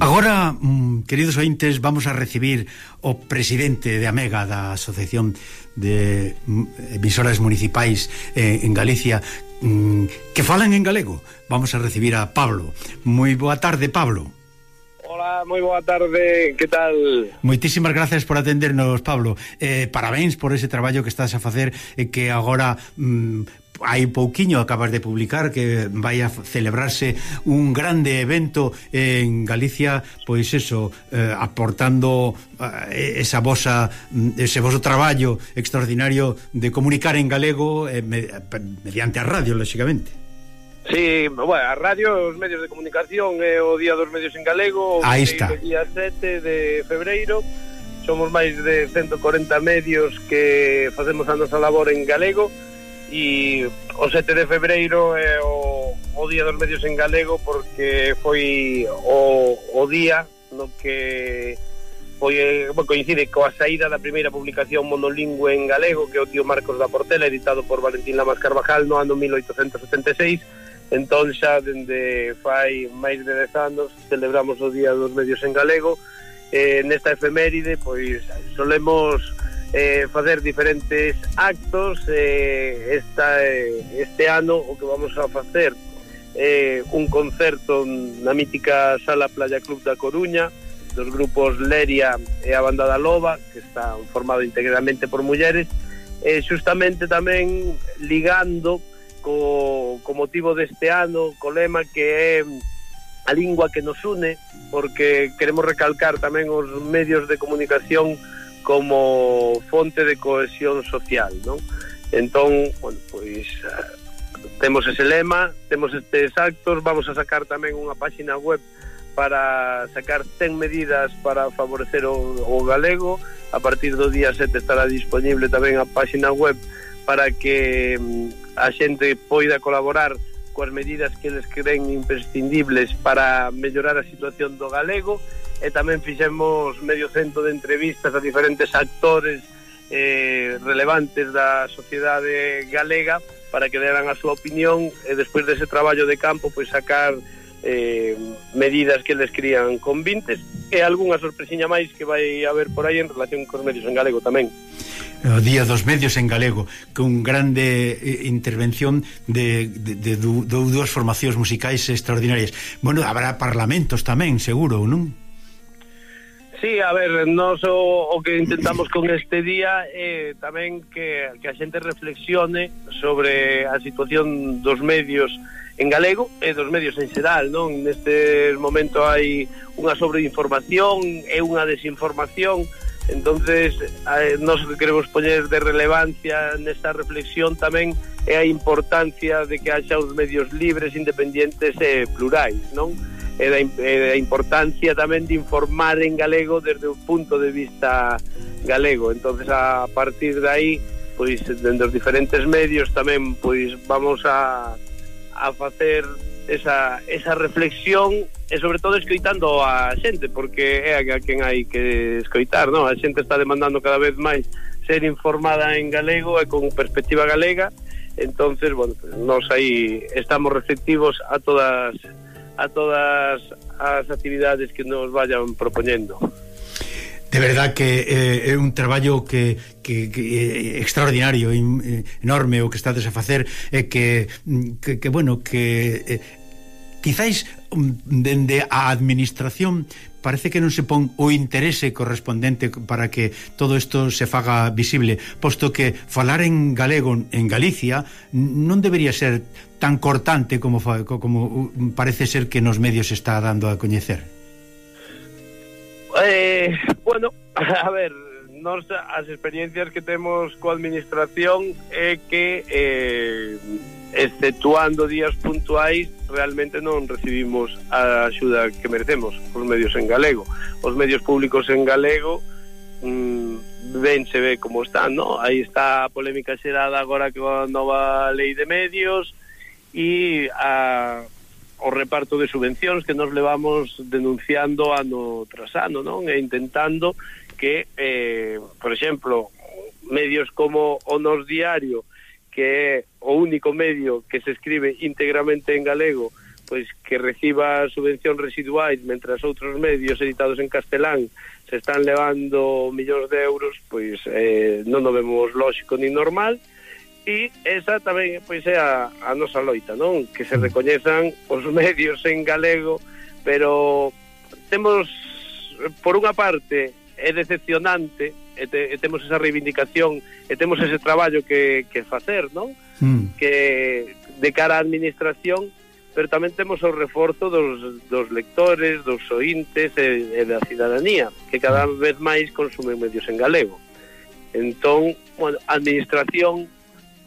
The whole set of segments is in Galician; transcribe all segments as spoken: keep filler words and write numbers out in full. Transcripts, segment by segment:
Agora, queridos ointes, vamos a recibir o presidente de Amega, da Asociación de Emisoras Municipais en Galicia, que falan en galego. Vamos a recibir a Pablo. Moi boa tarde, Pablo. Hola, moi boa tarde, que tal? Moitísimas gracias por atendernos, Pablo. Eh, parabéns por ese traballo que estás a facer, e que agora mm, hai pouquiño acabas de publicar que vai a celebrarse un grande evento en Galicia, pois eso, eh, aportando eh, esa vosa, ese voso traballo extraordinario de comunicar en galego eh, mediante a radio, lógicamente. Sí, bueno, a radio, os medios de comunicación, é o Día dos Medios en Galego. Aí está. O día sete de febreiro. Somos máis de ciento corenta medios que facemos a nosa labor en galego. E o sete de febreiro é o, o Día dos Medios en Galego, porque foi o, o día no que foi, bueno, coincide coa saída da primeira publicación monolingüe en galego, que é o Tío Marcos da Portela, editado por Valentín Lamas Carvajal no ano mil oitocentos setenta e seis. Entón xa dende fai máis de dez anos celebramos o Día dos Medios en Galego. Eh, nesta efeméride pois solemos eh, facer diferentes actos. eh, esta, eh, este ano o que vamos a facer eh, un concerto na mítica Sala Playa Club da Coruña dos grupos Leria e a Banda da Loba, que está formado integralmente por mulleres, e eh, justamente tamén ligando co, co motivo deste ano, co lema que é a lingua que nos une, porque queremos recalcar tamén os medios de comunicación como fonte de cohesión social, non? Entón, bueno, pois temos ese lema, temos estes actos, vamos a sacar tamén unha páxina web para sacar cen medidas para favorecer o, o galego. A partir do día sete estará disponible tamén a páxina web para que a xente poida colaborar coas medidas que eles creen imprescindibles para mellorar a situación do galego. E tamén fixemos medio cento de entrevistas a diferentes actores eh, relevantes da sociedade galega para que deran a súa opinión, e despois dese traballo de campo pois sacar eh, medidas que eles crían convintes, e algunha sorpresiña máis que vai haber por aí en relación cos medios en galego tamén. O Día dos Medios en Galego, con grande eh, intervención de, de, de, de, de dúas formacións musicais extraordinarias. Bueno, habrá parlamentos tamén, seguro, non? Sí, a ver, nos o, o que intentamos con este día é eh, tamén que, que a xente reflexione sobre a situación dos medios en galego e dos medios en xeral, non? Neste momento hai unha sobreinformación e unha desinformación. Entonces, eh, nós que queremos poñer de relevancia nesta reflexión tamén é a importancia de que haxa os medios libres, independentes e plurais, non? E da, e da importancia tamén de informar en galego desde o punto de vista galego. Entonces, a partir de aí, pois, dentro dos diferentes medios tamén, pois, vamos a, a facer esa, esa reflexión, e sobre todo escoitando a xente, porque é a quen hai que escoitar, non? A xente está demandando cada vez máis ser informada en galego e con perspectiva galega. Entonces, bueno, pues, nós aí estamos receptivos a todas a todas as actividades que nos vayan propoñendo. De verdad que eh, é un traballo que, que, que extraordinario, in, enorme o que estades a facer, e que, que, que bueno, que eh, quizáis dende a administración parece que non se pon o interese correspondente para que todo isto se faga visible, posto que falar en galego en Galicia non debería ser tan cortante como, como parece ser que nos medios está dando a coñecer. Eh, bueno, a ver, nos as experiencias que temos coa administración é que eh, exceptuando días puntuais realmente non recibimos a axuda que merecemos os medios en galego. Os medios públicos en galego mmm, ben se ve como están, ¿no? Aí está a polémica xerada agora que a nova lei de medios e a o reparto de subvencións que nos levamos denunciando ano tras ano, non? E intentando que, eh, por exemplo, medios como o Nos Diario, que é o único medio que se escribe íntegramente en galego, pois que reciba subvención residuais mentras outros medios editados en castelán se están levando millóns de euros, pois eh, non o vemos lóxico ni normal. E esa tamén pois é a, a nosa loita, non? Que se recoñezan os medios en galego, pero temos, por unha parte, é decepcionante, e, te, e temos esa reivindicación, e temos ese traballo que, que facer, non? Mm. Que de cara á administración, pero tamén temos o reforzo dos, dos lectores, dos ointes e, e da cidadanía, que cada vez máis consumen medios en galego. Entón, bueno, a administración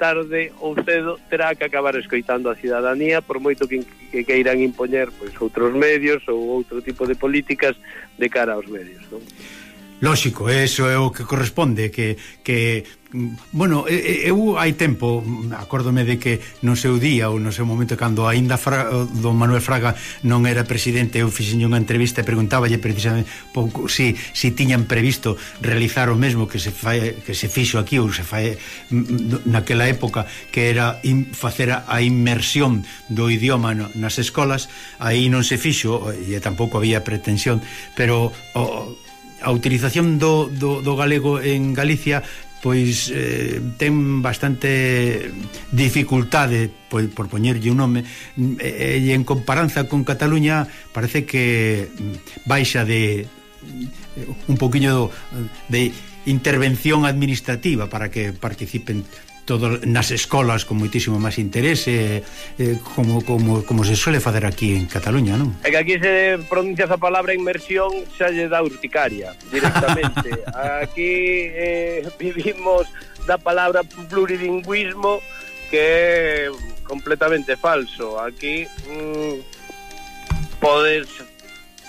tarde ou cedo terá que acabar escoitando a cidadanía, por moito que, que queiran impoñer pois outros medios ou outro tipo de políticas de cara aos medios, non? Lóxico, eso é o que corresponde, que, que bueno, eu hai tempo acórdome de que no seu día ou no seu momento cando aínda Fra, don Manuel Fraga non era presidente, eu fixen unha entrevista e preguntáballe precisamente pouco si, si tiñan previsto realizar o mesmo que se fai, que se fixo aquí ou se fai naquela época, que era in, facer a, a inmersión do idioma no, nas escolas. Aí non se fixo e tampouco había pretensión, pero o, a utilización do, do, do galego en Galicia pois eh, ten bastante dificultade por, por poñerlle un nome, e, e en comparanza con Cataluña parece que baixa de un poquinho de intervención administrativa para que participen todos nas escolas con moitísimo máis interese, eh, como, como, como se suele facer aquí en Cataluña, non? É que aquí se pronuncia a palabra inmersión, xa lle dá urticaria directamente. Aquí eh, vivimos da palabra plurilingüismo, que é completamente falso. Aquí mm, podes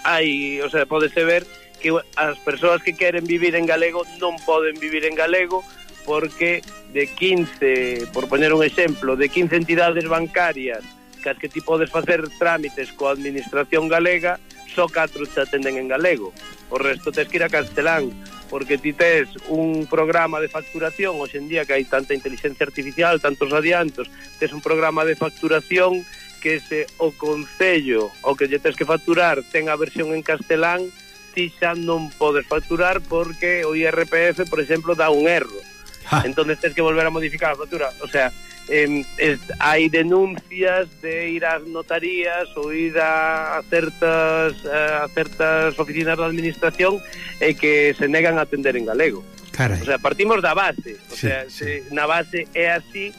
hai, o sea, podese ver que as persoas que queren vivir en galego non poden vivir en galego, porque de quince, por poñer un exemplo, de quince entidades bancarias que as que ti podes facer trámites coa administración galega, só catro te atenden en galego. O resto tes que ir a castelán, porque ti tes un programa de facturación, hoxe en día que hai tanta inteligencia artificial, tantos adiantos, tes un programa de facturación que se o concello o que lle tes que facturar ten a versión en castelán, ti xa non podes facturar porque o I R P F, por exemplo, dá un erro. Entonces tens que volver a modificar a factura. O sea, eh, es, hai denuncias de ir ás notarías ou ir a, a certas a certas oficinas da administración e que se negan a atender en galego. Carai. O sea, partimos da base. O sí, sea, sí. Se, na base é así,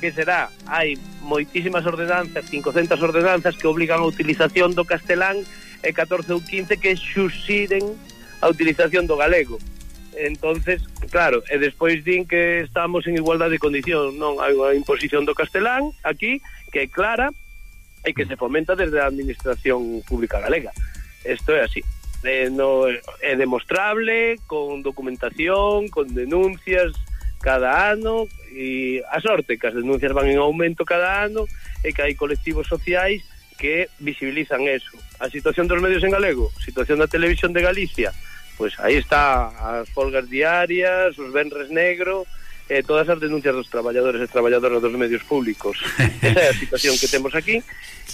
que será, hai moitísimas ordenanzas, quinhentas ordenanzas que obligan a utilización do castelán e catorce ou quince que xuxiren a utilización do galego. Entonces, claro, e despois din que estamos en igualdade de condición. Non, hai unha imposición do castelán aquí que é clara e que se fomenta desde a administración pública galega. Isto é así. Eh, no, é demostrable, con documentación, con denuncias cada ano, e a sorte que as denuncias van en aumento cada ano e que hai colectivos sociais que visibilizan eso. A situación dos medios en galego, situación da televisión de Galicia, pois aí está as folgas diarias, os venres negro, eh, todas as denuncias dos traballadores e traballadoras dos medios públicos. Esa é a situación que temos aquí,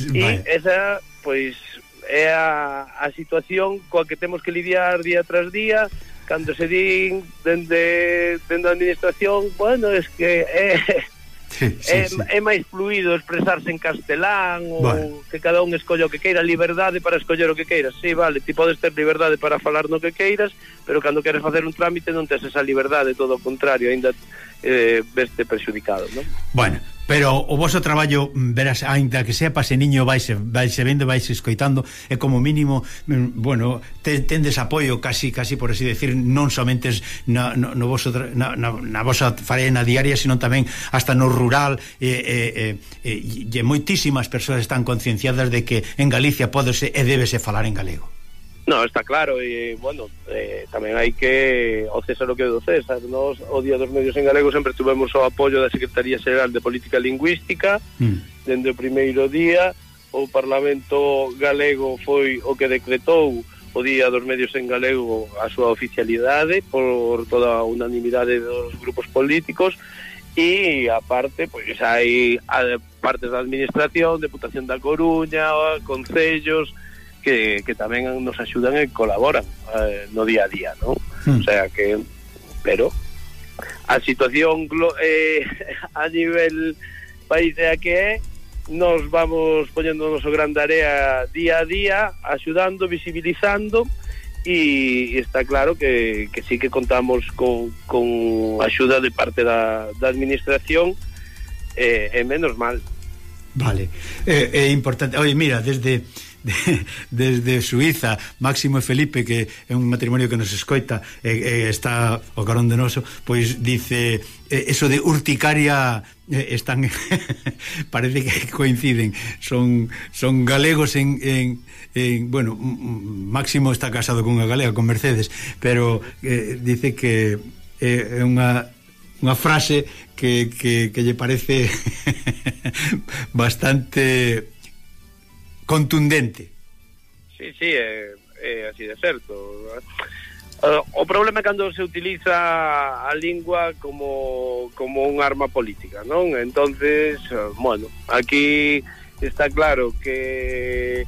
e esa, pois, é a, a situación coa que temos que lidiar día tras día, cando se din dende, dende a administración, bueno, es que é... Sí, sí, é, sí. é máis fluido expresarse en castelán ou bueno, que cada un escolle o que queira, liberdade para escoller o que queiras. Sí, vale, ti podes ter liberdade para falar no que queiras, pero cando queres facer un trámite non tes esa liberdade, todo o contrario, ainda eh, veste perxudicado, non? Bueno, pero o vosso traballo, verás, ainda que sea paseniño, vaise, vaise vendo, vaise escoitando, e como mínimo, bueno, te, tendes apoio casi, casi por así decir, non somente na, no, no voso, na, na, na vosa faena diaria, sino tamén hasta no rural, e, e, e, e moitísimas persoas están concienciadas de que en Galicia pódese e débese falar en galego. No, está claro, e, bueno, eh, tamén hai que o César o que é do César. Nos, o Día dos Medios en Galego sempre tuvemos o apoio da Secretaría Xeral de Política Lingüística, mm. dende o primeiro día. O Parlamento Galego foi o que decretou o Día dos Medios en Galego a súa oficialidade por toda a unanimidade dos grupos políticos, e aparte, pois hai partes da administración, Deputación da Coruña, concellos, que, que tamén nos axudan e colaboran eh, no día a día, ¿no? Mm. O sea que, pero a situación eh, a nivel país é a que é, nos vamos poñendo o noso gran tarea día a día, axudando, visibilizando, e está claro que, que sí que contamos con, con axuda de parte da, da administración, e eh, menos mal. Vale, é eh, eh, importante. Oye, mira, desde de, desde Suiza, Máximo e Felipe, que é un matrimonio que nos escoita e eh, eh, está o carón de noso, pois dice eh, eso de urticaria eh, están parece que coinciden, son son galegos en, en, en bueno, Máximo está casado con unha galega, con Mercedes, pero eh, dice que é eh, unha unha frase que, que, que lle parece bastante contundente. Sí, sí, é, é así de certo. Uh, o problema é cando se utiliza a lingua como, como un arma política, non? Entonces, uh, bueno, aquí está claro que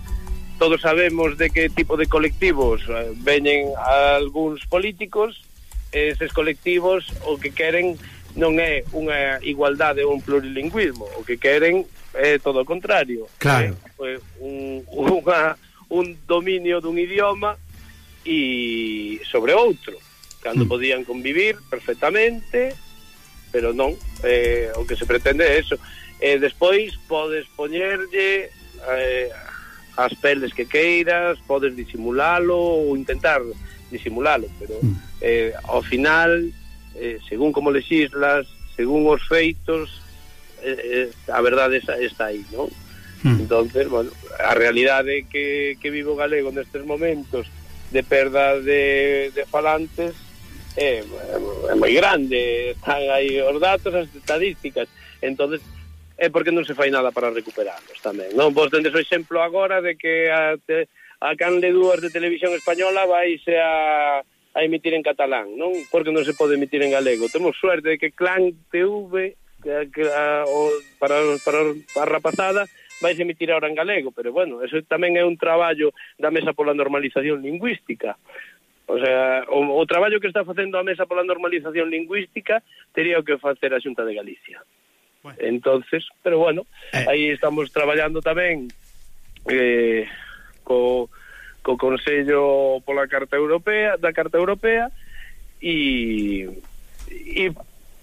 todos sabemos de que tipo de colectivos uh, veñen algúns políticos. Eses colectivos o que queren non é unha igualdade ou un plurilingüismo, o que queren é todo o contrario. Claro. É un, unha, un dominio dun idioma e sobre outro, cando mm. podían convivir perfectamente, pero non, eh, o que se pretende é eso. E despois podes poñerlle eh, as peles que queiras, podes disimulalo ou intentar disimulalo, pero mm. eh, ao final, eh, según como lexislas, según os feitos, eh, a verdade está, está aí, non? Mm. Entonces, bueno, a realidade que, que vivo galego nestes momentos de perda de, de falantes é, é moi grande, están aí os datos, as estadísticas, entonces é porque non se fai nada para recuperarlos tamén, non? Vos tendes o exemplo agora de que a, te, a canle dúas de televisión española vaise a, a emitir en catalán, non? Porque non se pode emitir en galego. Temos suerte de que Clan T V que, que, a, o, para, para, para a rapazada vais emitir ahora en galego, pero bueno, eso tamén é un traballo da Mesa pola Normalización Lingüística. O sea, o, o traballo que está facendo a Mesa pola Normalización Lingüística tería que facer a Xunta de Galicia. Bueno. Entonces, pero bueno, eh. aí estamos traballando tamén eh, co, co Consello pola Carta Europea, da Carta Europea e e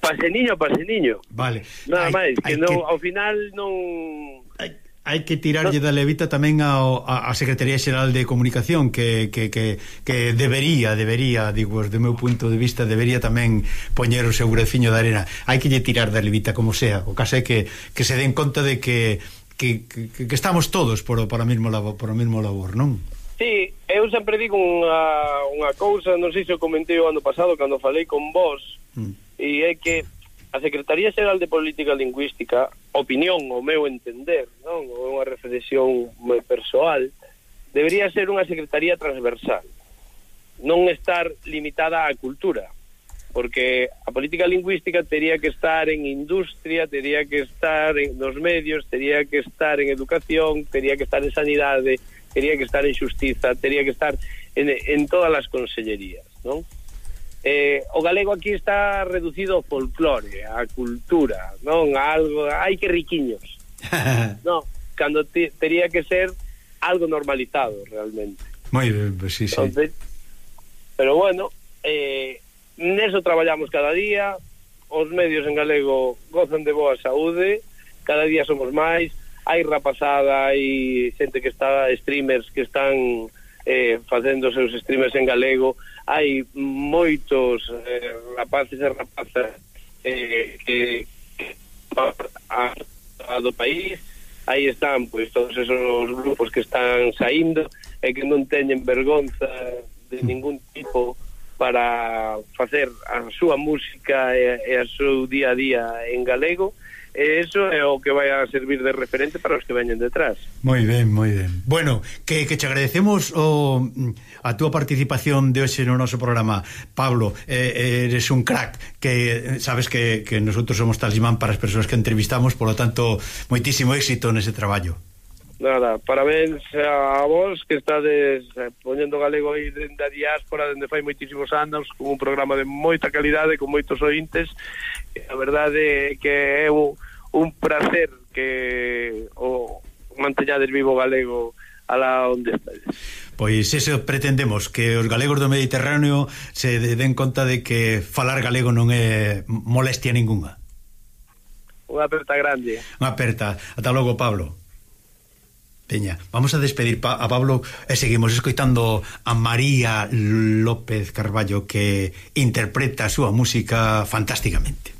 paseniño, paseniño. Vale. Nada máis, que, non, que ao final non... Hai... hai que tirarlle da levita tamén ao, a, a Secretaría Xeral de Comunicación que, que, que, que debería, debería, digo, do meu punto de vista, debería tamén poñer o seu greciño de arena. Hai que lle tirar da levita como sea. O caso é que, que se den conta de que, que, que, que estamos todos por, por, o mesmo labor, por o mesmo labor, non? Sí, eu sempre digo unha, unha cousa, non sei se o comentei o ano pasado cando falei con vos, mm. e é que a Secretaría Xeral de Política Lingüística, opinión, o meu entender, non, ou unha reflexión moi persoal, debería ser unha secretaría transversal, non estar limitada á cultura, porque a política lingüística tería que estar en industria, tería que estar en nos medios, tería que estar en educación, tería que estar en sanidade, tería que estar en xustiza, tería que estar en, en todas as consellerías, non? Eh, o galego aquí está reducido ao folclore, á cultura, non? A algo, hai que riquiños. Non, cando te, tería que ser algo normalizado realmente. Moi ben, pues sí, sí. Entonces, pero bueno, eh, neso traballamos cada día, os medios en galego gozan de boa saúde, cada día somos máis, hai rapazada, hai xente que está, streamers que están eh, facendo os seus streamers en galego, hai moitos eh, rapaces e rapazas eh, que, que a, a do país, aí están pois todos esos grupos que están saindo e que non teñen vergonza de ningún tipo para facer a súa música e, e a seu día a día en galego, e eso é o que vai a servir de referente para os que veñen detrás. Moi ben, moi ben. Bueno, que, que te agradecemos o, a túa participación de hoxe no noso programa, Pablo. Eh, eres un crack, que sabes que, que nosotros somos talismán para as persoas que entrevistamos, por lo tanto, moitísimo éxito nese traballo. Nada, parabéns a vos que estades poñendo galego aí dende a diáspora, dende fai moitísimos anos, con un programa de moita calidade, con moitos ointes. A verdade é que é un, un placer que o manteñades vivo galego alá onde estades. Pois eso pretendemos, que os galegos do Mediterráneo se den conta de que falar galego non é molestia ninguna. Unha aperta grande. Unha aperta. Ata logo, Pablo. Teña, vamos a despedir pa a Pablo e seguimos escoitando a María López Carballo, que interpreta a súa música fantásticamente.